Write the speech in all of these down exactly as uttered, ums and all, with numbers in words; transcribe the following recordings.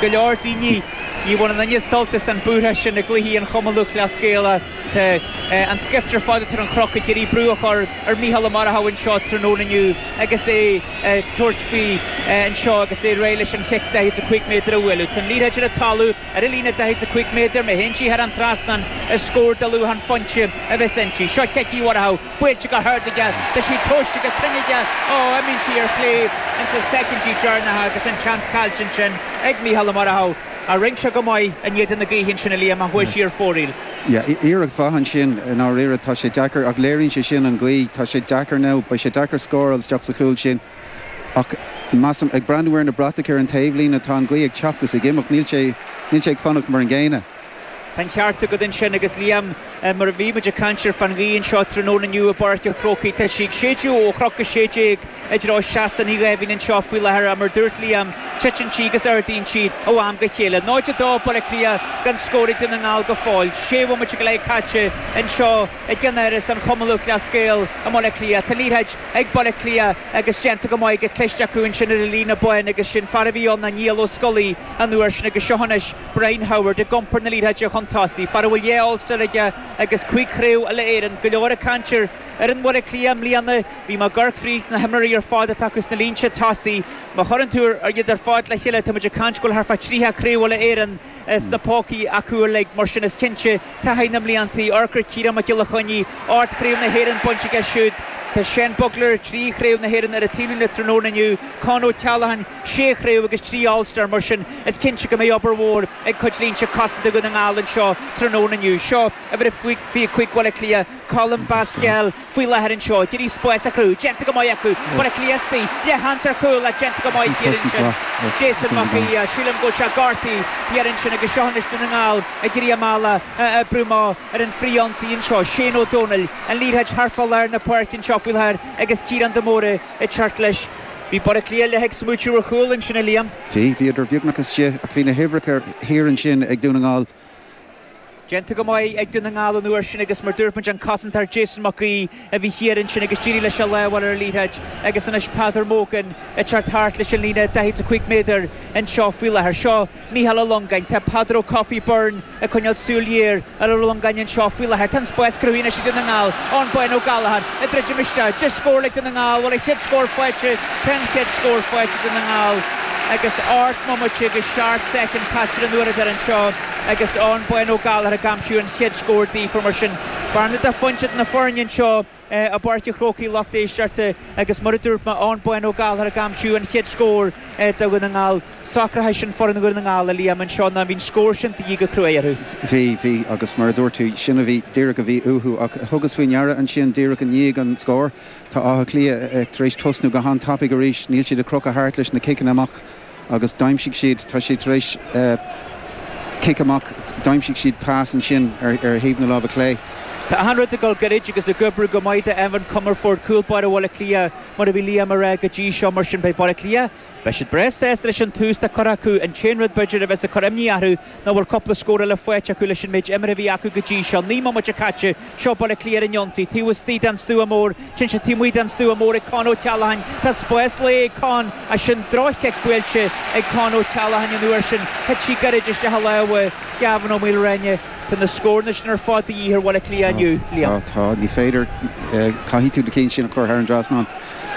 Go leor daoine ní bhaineann duine sult as an búrtha sin i gcluichí an Chumann Lúthchleas Gael. Tá an scift ar fad atá ar an Chnoc ag iarraidh brú a chur ar Mhícheál Ó Murchú anseo tráthnóna inniu agus é ag tabhairt faoi anseo agus é réidh leis an chic daichead a cúig méadar a bhualadh. Tá an liathróid ar an talamh ar an líne daichead a cúig méadar, má théann sí thar an trasnán is scór de luach an phointe a bheas inti. Seo cic Uí Mhurchú, buailte go hard aige, tá sí tomhaiste go cruinn aige, ó, imíonn sí ar chlé ins na soicindí deireanacha agus an seans caillte ansin ag Mícheál Ó Murchú. A rinne sé go maith in éadan na gaoithe ansin a Liam ach chuaigh sí ar fóraoil. Yeah, iarracht mhaith ansin i ndáiríre tá sé deacair ach léiríonn sé sin an ghaoth tá sé deacair nó beidh sé deacair scóráil isteach sa chúl sin ach measaim ag breathnú ar na bratacha ar an taobhlíne tá an ghaoth ag teacht is ag imeacht níl sé níl sé ag fanacht mar an gcéanna. Tá an ceart agat ansin agus Liam mar a bhí muid ag caint ar fán ghaoth anseo tráthnóna inniu i bPáirc an Chrócaigh tá sí ag séideadh ó Chnoc a sé déag i dtreo Seastán Uí Dháimhín anseo faoi láthair mar dúirt Liam titeann sí agus ardaíonn sí ó am go chéile. Náid a dó Baile Átha Cliath gan scór ag Dún na nGall go fóill. Sé bhomaite go leith caite anseo i gceannáras an Chumann Lúthchleas Gael i mBaile Átha Cliath. Tá liathróid ag Baile Átha Cliath agus déanta go maith go cliste acu ansin ar an líne bán agus sin fear a bhí ann ná Niall Ó Scolaí an uair sin agus seo anois Brian Howard ag iompar na liathróide chun tosaigh. Fear a bhfuil dhá Ulster aige agus cúig chraobh uile Éireann go leor ag caint ar ar an Bhaile Átha Cliath i mbliana bhí mé ag amharc fríd na himreoirí ar fad atá acu sna línte tosaigh má chuireann tú ar iad ar fad le chéile tá muid ag caint go bhfuil thart fá tríocha craobh uile Éireann sna pócaí acu uilig mar sin is cinnte taithí na mblianta amharc ar Ciarán Mac Giolla Chainnigh ocht chraobh na hÉireann bainte aige siúd Tá Shane Bugler trí chraobh na hÉireann ar an taobhlíne tráthnóna inniu Con O'Callaghan sé chraobh agus trí All-Star mar sin is cinnte go mbeidh obair mhór ag cuid línte cosanta Dhún na nGall anseo tráthnóna inniu. Seo uimhir a fiche cúig Bhaile Átha Cliath Colm Basquel faoi láthair anseo ag iarraidh spás a chruthú déanta go maith acu Baile Átha Cliath istigh le sheans ar chúl le déanta go maith thiar ansin Jason Mac Aoidh sílim go bhfuil sé gortaithe thiar ansin agus seo anois Dún na nGall ag iarraidh a mbealach a oibriú amach ar an frith-ionsaí anseo Shane Ó Dónaill an liathróid thart fá lár na páirce anseo faoi láthair agus Ciarán de Mórdha ag teacht leis. Bhí Baile Átha Cliath le ag smaointiú ar chúl ansin a Liam. Bhí bhíodar beagnach istigh ach bhí na huimhreacha thiar ansin ag Dún na nGall. Déanta go maith ag Dún na nGall an uair sin agus mar dúirt muid an cosantóir Jason Mac Aoidh a bhí thiar ansin agus d'éirigh leis an lámh ar an liathróid agus anois Peadar Mogan ag teacht thart leis an líne daichead a cúig méadar anseo faoi láthair. Seo Mícheál Ó Longáin, tá Peadar Ó Cofaigh Byrne ag coinneáil súil ghéar ar Ó Longáin anseo faoi láthair. Tá an spás cruthaithe anois ag Dún na nGall Eoin Bán Ó Gallchóir ag druidim isteach deis scór ag Dún na nGall bhfuil an chéad scór faighte tá an chéad scór faighte Dún na nGall agus ocht mbomaite agus seacht soicind caite ar an uaireadóir anseo agus Eoin Bán Ó Gallchóir ag aimsiú an chéad scór daofa mar sin. Bearna de phointe na foirne anseo i bPáirc an Chrócaigh lucht éisteachta agus mar a dúirt mé Eoin Bán Ó Gallchóir ag aimsiú an chéad scór do Dhún na nGall. Socraithe sin foireann Dhún na nGall a Liam anseo ná bhí an scór sin de dhíth go cruaidh orthu. Bhí bhí agus mar a dúirt tú sin a bhí díreach a bhí uathu ach thugas faoi ndeara ansin díreach i ndiaidh an scór Tá Áth Cliath tar éis tosnú go han-tapaidh arís, níl siad ag crochadh thart leis na ciceanna amach agus d'aimsigh siad tá siad tar éis cic amach d'aimsigh siad pas ansin ar ar thaobh na láimhe clé. Tá achan rud ag dul gairid agus ag oibriú go maith do Evan Comerford cúl báire Bhaile Átha Cliath mar a bhí Liam ag rá go dtí seo mar sin beidh Baile Átha Cliath Beidh siad breá sásta leis an tús atá curtha acu an t-aon rud b'fhéidir a bheas ag cur imní orthu ná bhfuil cúpla scór eile faighte acu leis an méid imeartha a bhí acu go dtí seo. Naoi mbomaite caite seo Baile Átha Cliath ar an ionsaí taobh istigh den stua mór téann sé taobh amuigh den stua mór ag Con O'Callaghan Tá spás léi ag Con as sin droch-chic buailte ag Con O'Callaghan an uair sin thit sí gairid isteach i lámha Gavin Ó Maoilréine Tá na scóranna sin ar fad de dhíth ar Bhaile Átha Cliath inniu, Liam. Tá tá ní féidir caithfidh tú na cinn sin a chur thar an trasnán.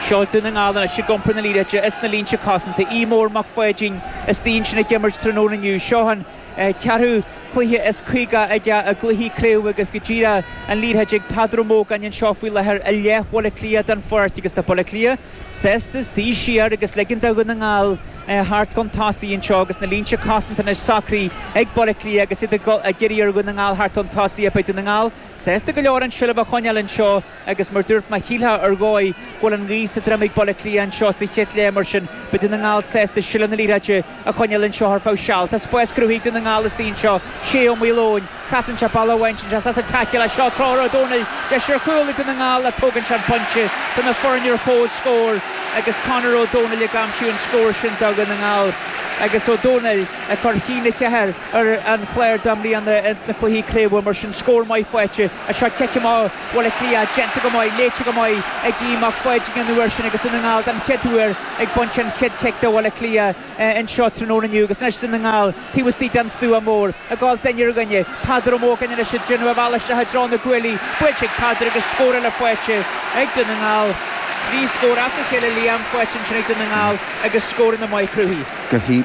Seo Dún na nGall anois ag iompar na liathróide is na línte cosanta. Aodh Mór Mac Pháidín istigh ansin ag imirt tráthnóna inniu. Seo an ceathrú cluiche is caoga aige i gcluichí craoibhe agus go díreach an liathróid ag Peadar Ó Mógáin anseo faoi láthair i leith Bhaile Átha Cliath den pháirc agus tá Baile Átha Cliath sásta suí siar agus ligean do Dhún na nGall theacht chun tosaigh anseo agus na línte cosanta anois socraithe ag Baile Átha Cliath agus iad ag iarraidh ar Dhún na nGall theacht chun tosaigh. Beidh Dún na nGall sásta go leor an tseilbh a choinneáil anseo agus mar dúirt mé shílfeá ar dhóigh go bhfuil an ghaoth sa droim ag Baile Átha Cliath anseo sa chéad leath mar sin beidh Dún na nGall sásta seilbh na liathróide a choinneáil anseo ar feadh seal. Tá spás cruthaithe ag Dún na Ngall istigh anseo Shea Ó Maoileoin casann sé bealach amháin sin sé sásta taicil seo Conor Ó Domhnaill deis ar chúl ag Dún na nGall a tógann sé an pointe do na foirne ar comhscór agus Conor Ó Domhnaill ag aimsiú an scór sin do Dhún na nGall. agus Ó Dónaill ag cur a haon a ceathair ar an chlár do i mbliana ins na cluichí craoibhe mar sin scór maith faighte seo cic amach Bhaile Átha Cliath déanta go maith léite go maith ag Aodh Mac Pháidín an uair sin agus Dún na nGall den chéad uair ag baint an chéad chic do Bhaile Átha Cliath anseo tráthnóna inniu agus anois Dún na nGall taobh istigh den stua mór ag gabháil duine ar dhuine Peadar Ó Mógáin anois ag déanamh a bhealach isteach i dtreo na gcuaillí buailte ag Peadar agus scór eile faighte ag Dún na nGall. Trí scór as a chéile Liam faighte ansin ag Dún na nGall agus scóranna maith cruthaithe.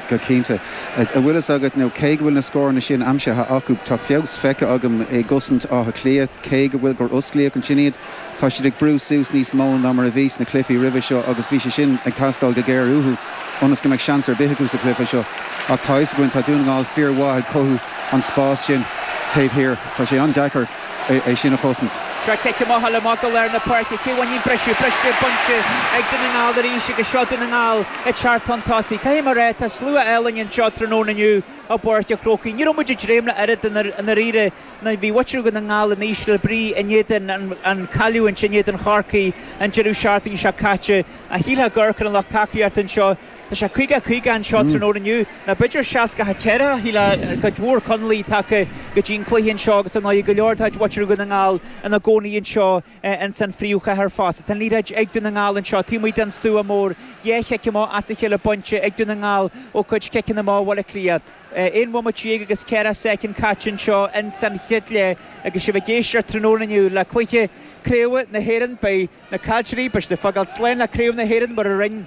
Go cinnte. An bhfuil fhios agat nó cé go bhfuil na scóranna sin aimsithe acu tá feabhas feicthe agam i gcosaint Átha Cliath cé go bhfuil gur osclaíodh ansin iad tá siad ag brú suas níos mó ná mar a bhí sna cluichí roimhe seo agus bhí sé sin ag teastáil go géar uathu ionas go mbeadh seans ar bith acu sa chluiche seo ach tá fhios againn tá Dún na nGall fíormhaith ag cothú an spás sin taobh thiar tá sé an-deacair é sin a chosaint. Seo cic amach le amach go lár na páirce cé a bhainfidh an briseadh briseadh bainte ag Dún na nGall arís agus seo Dún na nGall ag teacht chun tosaigh. Caithfidh mé a rá tá slua álainn anseo tráthnóna inniu i bPáirc an Chrócaigh. Ní raibh muid ag dréim le oiread i ndáiríre ná bhí muintir Dhún na nGall in ísle brí in éadan an cailliúint in éadan Chorcaí an deireadh seachtaine seo caite. A shílfeá gur an lucht tacaíochta anseo Tá sé caoga caoga anseo tráthnóna inniu nó b'fhéidir seasca a ceithre shílfeá cuid mhór Conallaigh tagtha go dtí an cluiche anseo agus ar ndóigh go leor de mhuintir Dhún na nGall ina gcónaí anseo ins an phríomhchathair fosta. Tá an liathróid ag Dún na nGall anseo taobh amuigh den stua mór dhá chic amach as a chéile bainte ag Dún na nGall ó cuid ciceanna amach Bhaile Átha Cliath. Aon bhomaite déag agus ceithre soicind caite anseo ins an chéad leath agus sibh ag éisteacht tráthnóna inniu le cluiche craoibhe na hÉireann beidh na caillteoirí beidh siad ag fágáil slán le craobh na hÉireann mar a rinne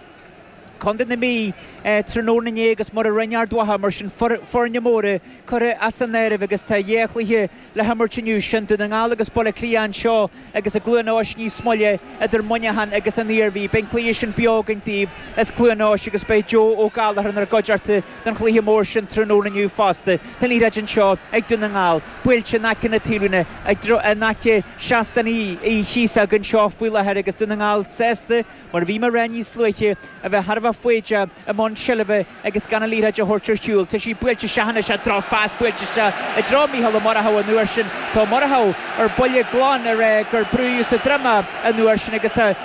Contae na Mí tráthnóna inné agus mar a rinne Ard Mhacha mar sin foirne móra curtha as an áireamh agus tá dhá chluiche le himirt inniu sin Dún na nGall agus Baile Átha Cliath anseo agus i gCluain Eois níos moille idir Muineachán agus an Iarmhí. Beidh an cluiche sin beo againn daoibh as Cluain Eois agus beidh Joe Ó Gallchóir inár gcuideachta don chluiche mór sin tráthnóna inniu fosta. Tá an liathróid anseo ag Dún na nGall, buailte in aice na taobhlíne in aice seastán Uí Chíosóg anseo faoi láthair agus Dún na nGall sásta mar a bhí mé a rá níos luaithe, a bheith thar a bheith foighdeach i mbun seilbhe agus gan an liathróid a thabhairt ar shiúl. Tá sí buailte isteach anois, drochphas buailte isteach i dtreo Mícheál Ó Murchú an uair sin. Tá Ó Murchú ar buile glan ag rá gur brúdh sa droim é an uair sin agus tá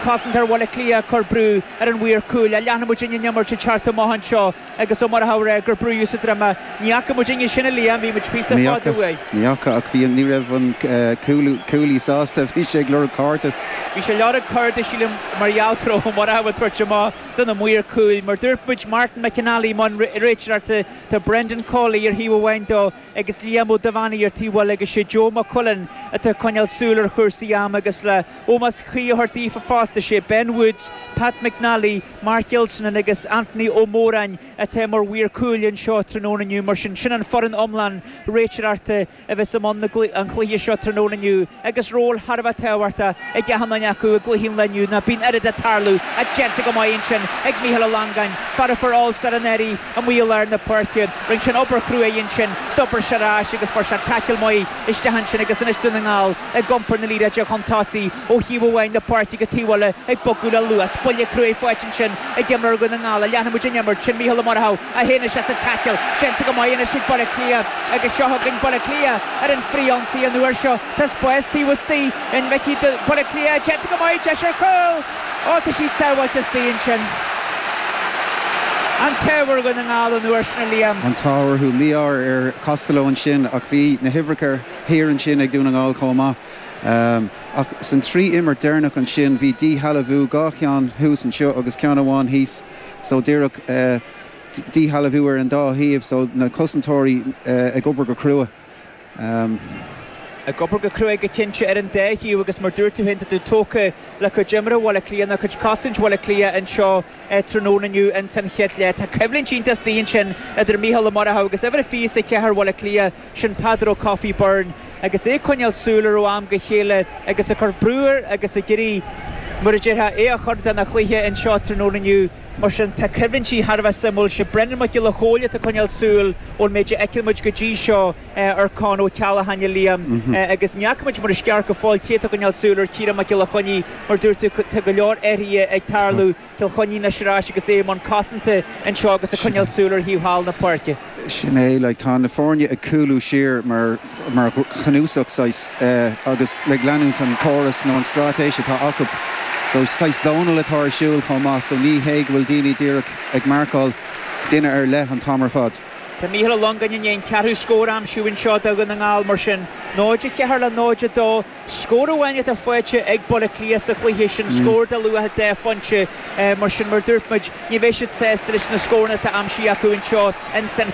cosantóir Bhaile Átha Cliath ag cur brú ar an mhaor cúil. Leanfaidh muidinne an imirt ag teacht amach anseo agus Ó Murchú ag rá gur brúdh sa droim é. Ní fhaca muidinne sin a Liam, bhí muid píosa fada uaidh. Ní fhaca ach bhí ní raibh an cúlaí sásta, bhí sé ag lorg cárta. Bhí sé ag lorg cárta sílim mar gheall go raibh Ó Murchú ag tabhairt amach do na maoir cúil. Mar dúirt muid Martin McInally i mbun réiteoireachta, tá Brendan Cawley ar thaobh amháin dó agus Liam Ó Duibheannaigh ar taobh eile agus sé Joe Mac Cuilinn atá ag coinneáil súil ar chúrsaí ama agus le ómós cuí a thabhairt daofa fosta sé Ben Woods, Pat McNally, Mark Gilsenan agus Anthony Ó Móráin atá mar mhaoir cúil anseo tráthnóna inniu. Mar sin, sin an foireann iomlán réiteoireachta a bheas i mbun an chluiche seo tráthnóna inniu agus ról thar a bheith tábhachtach ag achan duine acu i gcluiche an lae inniu. Ná bíonn oiread ag tarlú ach déanta go maith ansin ag Mícheál Ó Longáin, fear a fuair All-Star anuraidh amuigh i lár na páirce. Rinne sé an obair chruaidh ansin, d'obair sé ar ais agus fuair sé tackle maith isteach ansin agus anois Dún na nGall ag iompar na liathróide chun tosaigh ó thaobh amháin na páirce go taobh eile ag bogadh le luas. Buille cruaidh faighte ansin ag imreoir Dhún na nGall. Leanfaidh muid an imirt. Sin Mícheál Ó Murchú a théann isteach sa tackle. Déanta go maith anois ag Baile Átha Cliath agus seo chugainn Baile Átha Cliath ar an frithionsaí an uair seo. Tá spás taobh istigh an bhfeicfidh Baile Átha Cliath déanta go maith deis ar chúl! Ó tá sí sábháilte istigh ansin. An t-ádh ar Dhún na nGall an uair sin a Liam. An t-ádh orthu mí-ádh ar Costello ansin ach bhí na huimhreacha thiar ansin ag Dún na nGall chomh maith. Ach san trí imirt deireanach ansin bhí díshealbhú dhá cheann thuas anseo agus ceann amháin thíos so díreach díshealbhú ar an dá thaobh so na cosantóirí ag obair go crua. Ag obair go cruaidh go cinnte ar an dá thaobh agus mar dúirt tú féin tá tú tógtha le cuid imeartha Bhaile Átha Cliath nó cuid cosaint Bhaile Átha Cliath anseo tráthnóna inniu ins an chéad leath. Tá coimhlint iontach istigh ansin idir Mícheál Ó Murchú agus uimhir a fiche is a ceathair Bhaile Átha Cliath, sin Peadar Ó Cofaigh Byrne agus é ag coinneáil súil air ó am go chéile agus ag cur brú air agus ag iarraidh, mar a déarfá, é a chur den chluiche anseo tráthnóna inniu. Mar sin, tá coimhlintí thar a bheith suimiúil. Sé Brendan Mac Giolla Chóill atá ag coinneáil súil ón méid a fheiceann muid go dtí seo ar Con Ó Ceallacháin, a Liam, agus ní fhaca muid mar is ceart go fóill cé atá ag coinneáil súil ar Ciarán Mac Giolla Chainnigh. Mar dúirt tú, tá go leor athruithe ag tarlú. Cill Chainnigh anois ar ais agus é i mbun cosanta anseo agus ag coinneáil súil ar thaobh thall na páirce. Sin é, like, tá na foirne ag cúlú siar mar mar chnuasach saghas agus ag leanúint an córas nó an straitéis atá acu. So saghas zonal atá ar siúl chomh maith, so ní hé go bhfuil daoine díreach ag marcáil duine ar leith an t-am ar fad. Tá Mícheál Ó Longáin i ndiaidh an ceathrú scór a aimsiú anseo do Dhún na nGall mar sin náid a ceathair le náid a dó scór amháin atá faighte ag Baile Átha Cliath sa chluiche sin scór de luach deich bpointe mar sin mar dúirt muid ní bheidh siad sásta leis na scóranna atá aimsithe acu anseo in san